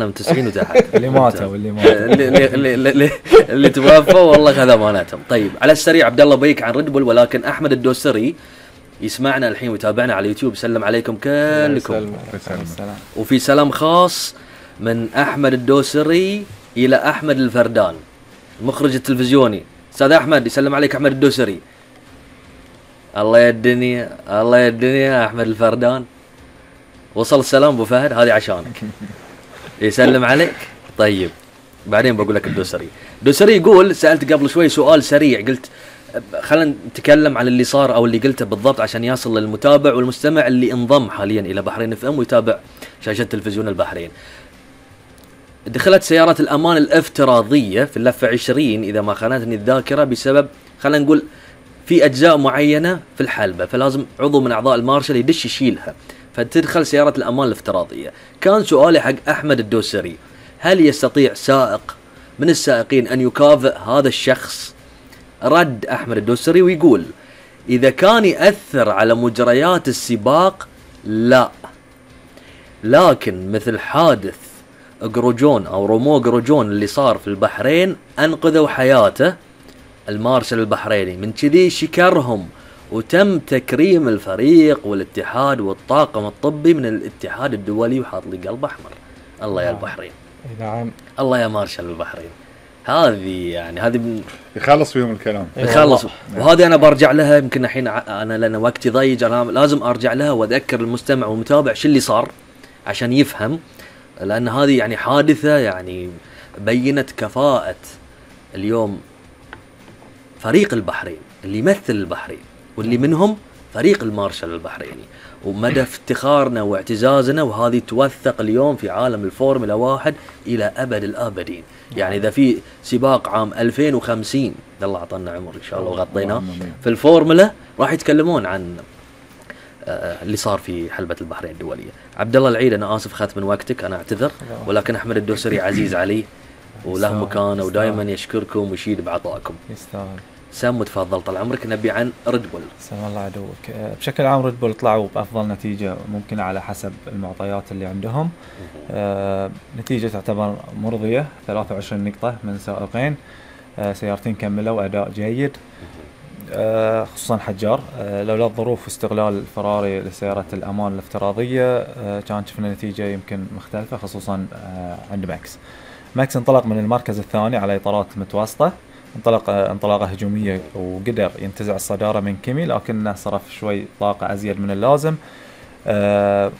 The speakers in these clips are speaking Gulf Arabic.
من 90 وتحت. اللي ماتوا اللي توفوا والله هذا مالتهم. طيب على السريع عبد الله بيك عن ريد بول، ولكن احمد الدوسري يسمعنا الحين ويتابعنا على اليوتيوب، سلم عليكم كلكم. وفي سلام خاص من احمد الدوسري الى احمد الفردان المخرج التلفزيوني. استاذ احمد يسلم عليك احمد الدوسري. الله يا الدنيا الله يا الدنيا. احمد الفردان وصل السلام ابو فهد، هذه عشانك. يسلم عليك. طيب بعدين بقول لك الدوسري. الدوسري يقول سألت قبل شوي سؤال سريع، قلت خلينا نتكلم عن اللي صار او اللي قلته بالضبط عشان يصل للمتابع والمستمع اللي انضم حاليا الى بحرين اف ام ويتابع شاشة تلفزيون البحرين. دخلت سيارات الامان الافتراضية في اللفة 20 اذا ما خانتني الذاكرة بسبب خلينا نقول في اجزاء معينة في الحلبة، فلازم عضو من اعضاء المارشال يدش يشيلها، فتدخل سيارة الأمان الافتراضية. كان سؤالي حق أحمد الدوسري، هل يستطيع سائق من السائقين أن يكافئ هذا الشخص؟ رد أحمد الدوسري ويقول إذا كان يأثر على مجريات السباق لا، لكن مثل حادث جروجون أو رومو جروجون اللي صار في البحرين أنقذوا حياته المارشال البحريني، من كذي شكرهم وتم تكريم الفريق والاتحاد والطاقم الطبي من الاتحاد الدولي وحاط لي قلب احمر. الله يا البحرين. نعم الله يا مارشال البحرين. هذه يعني هذه يخلص فيهم الكلام يخلص. وهذه انا برجع لها يمكن الحين انا لان وقتي ضيق، انا لازم ارجع لها واذكر المستمع والمتابع شو اللي صار عشان يفهم، لان هذه يعني حادثة يعني بينت كفاءة اليوم فريق البحرين اللي يمثل البحرين واللي منهم فريق المارشال البحريني، ومدى افتخارنا واعتزازنا، وهذه توثق اليوم في عالم الفورمولا 1 إلى أبد الآبدين. يعني إذا في سباق عام 2050 الله أعطانا عمر إن شاء الله وغطيناه في الفورمولا راح يتكلمون عن اللي صار في حلبة البحرين الدولية. عبد الله العيد أنا آسف خدت من وقتك، أنا أعتذر، ولكن أحمد الدوسري عزيز علي وله مكانه ودائما يشكركم ويشيد بعطائكم. يستاهل. سام تفضل طال عمرك، نبي عن ريد بول. سلام الله عدوك. بشكل عام ريد بول طلعوا بأفضل نتيجة ممكنة على حسب المعطيات اللي عندهم. نتيجة تعتبر مرضية، 23 نقطة من سائقين، سيارتين كملوا أداء جيد، خصوصا حجار. لولا الظروف واستغلال فراري لسيارة الأمان الافتراضية كان شفنا نتيجة يمكن مختلفة، خصوصا عند ماكس انطلق من المركز الثاني على إطارات متوسطة، انطلاقة هجومية وقدر ينتزع الصدارة من كيمي، لكنه صرف شوي طاقة أزيد من اللازم.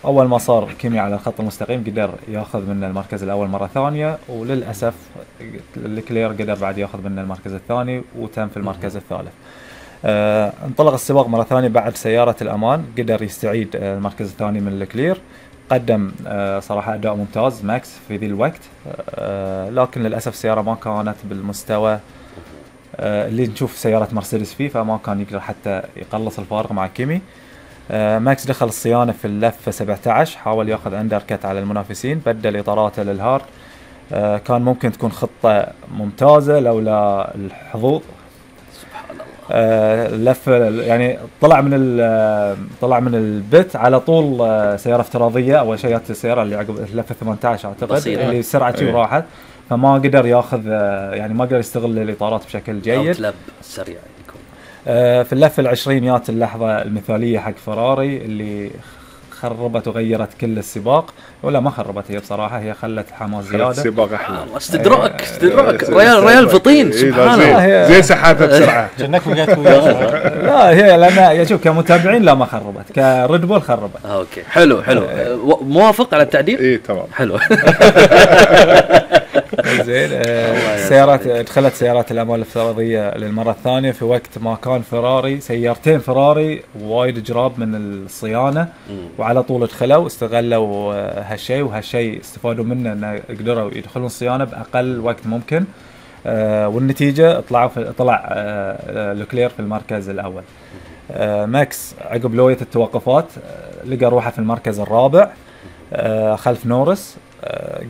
أول ما صار كيمي على الخط المستقيم قدر ياخذ منه المركز الأول مرة ثانية، وللأسف لكلير قدر بعد ياخذ منه المركز الثاني وتم في المركز الثالث. انطلق السباق مرة ثانية بعد سيارة الأمان، قدر يستعيد المركز الثاني من لكلير، قدم صراحة أداء ممتاز ماكس في ذي الوقت، لكن للأسف السيارة ما كانت بالمستوى اللي نشوف سيارة مرسيدس فيه، فما كان يقدر حتى يقلص الفارق مع كيمي. ماكس دخل الصيانة في اللفة 17، حاول ياخذ أندركت على المنافسين، بدل إطاراته للهارد. كان ممكن تكون خطة ممتازة لولا الحظوظ. اللفة يعني طلع من البت على طول سيارة افتراضية، أول شيء جت السيارة اللي عقب اللفة 18 أعتقد اللي سرعته وراحت، فما قدر ياخذ يعني ما قدر يستغل الإطارات بشكل جيد. لب سريع يكون. في اللفة 20 جات اللحظة المثالية حق فراري اللي خربت وغيرت كل السباق، ولا ما خربت هي بصراحة، هي خلت حماس زيادة. السباق أحلى. استدراك ريال فطين سبحان الله، زي سحابة بسرعة. جنك وقعت وياه. لا هي لأن شوف كمتابعين لا ما خربت، كريد بول خربت. اوكي حلو موافق على التعديل. ايه تمام حلو. زين. دخلت سيارات الأمان الافتراضية للمرة الثانية في وقت ما كان فراري سيارتين فراري وايد جراب من الصيانة، وعلى طول دخلوا استغلوا هالشيء، وهالشيء استفادوا منه انه قدروا يدخلون الصيانة بأقل وقت ممكن. والنتيجة طلع لوكلير في المركز الأول. ماكس عقب لوية التوقفات لقى روحه في المركز الرابع خلف نورس،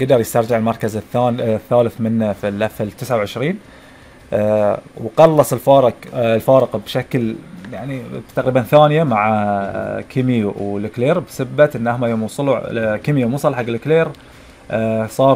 قدر يسترجع المركز الثالث منه في اللفة 29، وقلص الفارق بشكل يعني تقريبا ثانية مع كيمي ولكلير، بسبة انهم يوم وصلوا كيمي يوم وصل حق لكلير صار